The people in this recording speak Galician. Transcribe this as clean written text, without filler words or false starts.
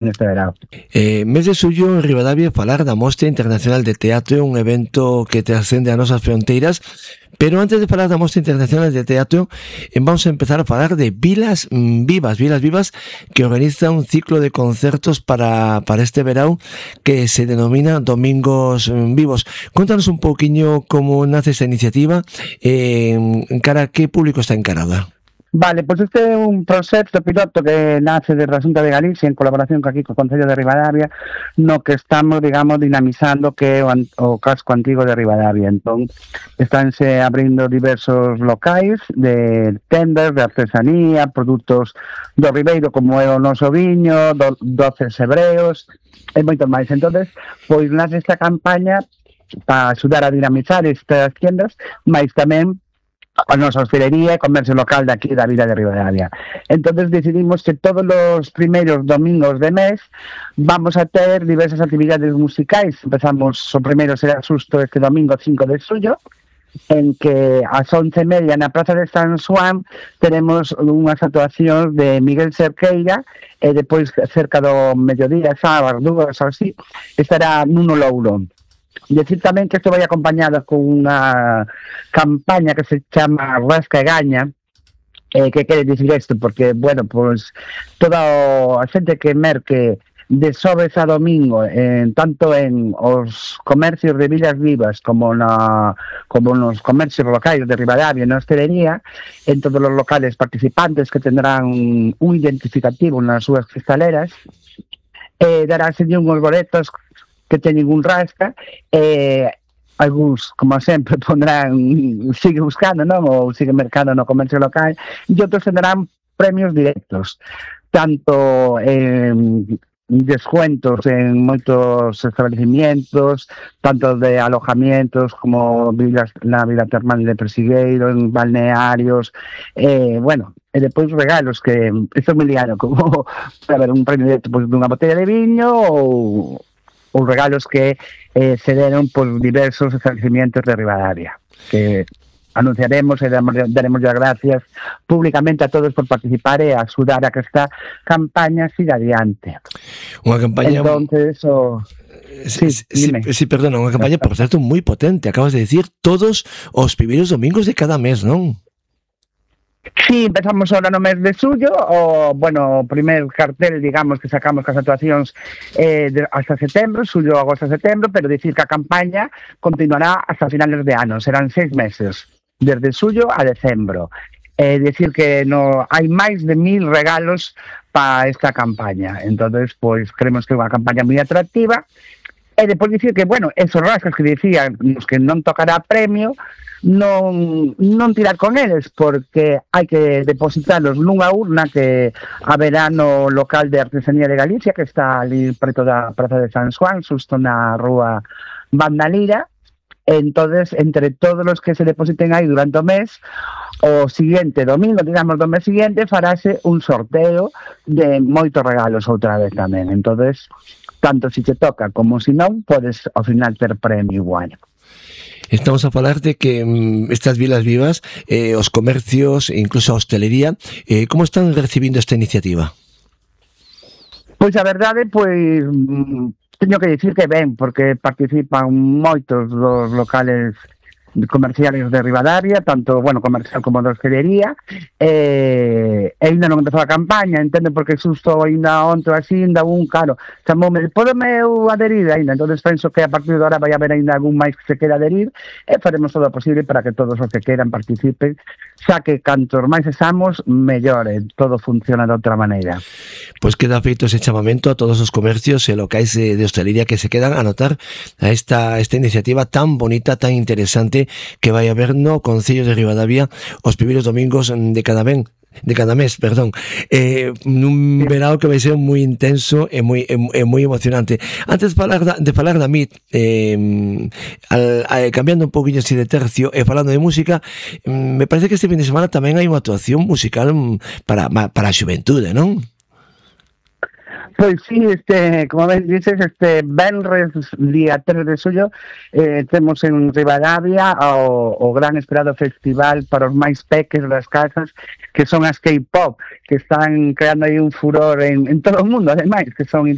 neste verano. Mes de xullo en Ribadavia falar da Mostra Internacional de Teatro, un evento que trascende as nosas fronteiras, pero antes de falar da Mostra Internacional de Teatro, vamos a empezar a falar de Vilas Vivas, que organiza un ciclo de concertos para este verão que se denomina Domingos Vivos. Contanos un pouquiño como nace esta iniciativa, cara a que público está encarada. Vale, pois este é un proxecto piloto que nace desde a Xunta de Galicia en colaboración aquí co Concello de Ribadavia, no que estamos, digamos, dinamizando que é o casco antigo de Ribadavia. Entón, estánse abrindo diversos locais de tendas, de artesanía, produtos do Ribeiro, como é o noso viño, doces hebreos, e moito máis. Entón, pois nace esta campaña para axudar a dinamizar estas tiendas, mas tamén a nosa hostelería e comercio local de aquí da vila de Ribadavia. Entonces decidimos que todos os primeiros domingos de mes vamos a ter diversas actividades musicais. Empezamos, o primeiro será xusto este domingo 5 de xullo, en que ás 11:30 na Praza de San Xoán teremos unhas actuacións de Miguel Cerqueira e depois cerca do mediodía, sábado, dúas ou así, estará Nuno Louro. Decir tamén que isto vai acompañado con unha campaña que se chama Rasca e Gaña. Que quere dicir isto? Porque, bueno, pois toda a xente que merque de xoves a domingo, tanto en os comercios de Vilas Vivas como nos comercios locais de Ribadavia e na hostelería, en todos os locales participantes que tendrán un identificativo nas súas cristaleras, daránse unhos boletos que teñen un rasca, algúns, como sempre, pondrán sigue buscando, non? Ou sigue mercando no comercio local, e outros tendrán premios directos, tanto descuentos en moitos establecimientos, tanto de alojamientos como na Vila Termal de Persigueiro, en balnearios, bueno, e depois regalos que, isto é moi liado, como, a ver, un premio directo pues, dunha botella de viño ou regalos que se deron por diversos establecimientos de Ribadavia, que anunciaremos e daremos as gracias públicamente a todos por participar e axudar a que esta campaña siga adiante. Unha campaña... Entonces, Sí, perdona, unha campaña, por certo, moi potente. Acabas de decir todos os primeiros domingos de cada mes, non? Sí, empezamos ahora no mes de xullo, o primer cartel, digamos, que sacamos cas actuacións hasta setembro, xullo, agosto, setembro, pero dicir que a campaña continuará hasta finales de ano, serán 6 meses, desde xullo a decembro. Decir que hai máis de 1000 regalos para esta campaña, entonces, pois, creemos que é unha campaña moi atractiva, e depois dicir que, bueno, esos rascas que dicían, os que non tocará premio, non tirar con eles, porque hai que depositarlos nunha urna que haberá no local de artesanía de Galicia, que está ali preto da Praza de San Xoán, xusto na rúa Bandalira. Entonces, entre todos os que se depositen aí durante o mes, o siguiente domingo, digamos, do mes siguiente, farase un sorteo de moitos regalos outra vez tamén. Entonces, tanto si te toca como si non, podes ao final ter premio igual. Estamos a falar de que estas Vilas Vivas, os comercios, incluso a hostelería, como están recibindo esta iniciativa? Pois a verdade, pois teño que dicir que ben, porque participan moitos dos locales comerciales de Ribadavia, tanto, comercial como de hostelería, e ainda non empezou a campaña, entende, porque xusto ainda onto así, ainda chamoume, podeme eu adherir ainda, entonces penso que a partir de agora vai haber ainda algún máis que se quera adherir, e faremos todo o posible para que todos os que queran participen, xa que cantos máis esamos, mellor, todo funciona de outra maneira. Pois queda feito ese chamamento a todos os comercios e locais de hostelería que se quedan a notar a esta iniciativa tan bonita, tan interesante que vai haber no Concello de Ribadavia os primeiros domingos de cada mes, nun verao que vai ser moi intenso e moi emocionante. Antes de falar da MIT, cambiando un poquinho así de tercio e falando de música, me parece que este fin de semana tamén hai unha actuación musical para a xuventude, non? Pois sí, como ben dices, venres día 3 de xullo temos en Ribadavia o gran esperado festival para os máis peques das casas, que son as K-pop, que están creando aí un furor en todo o mundo, ademais, que son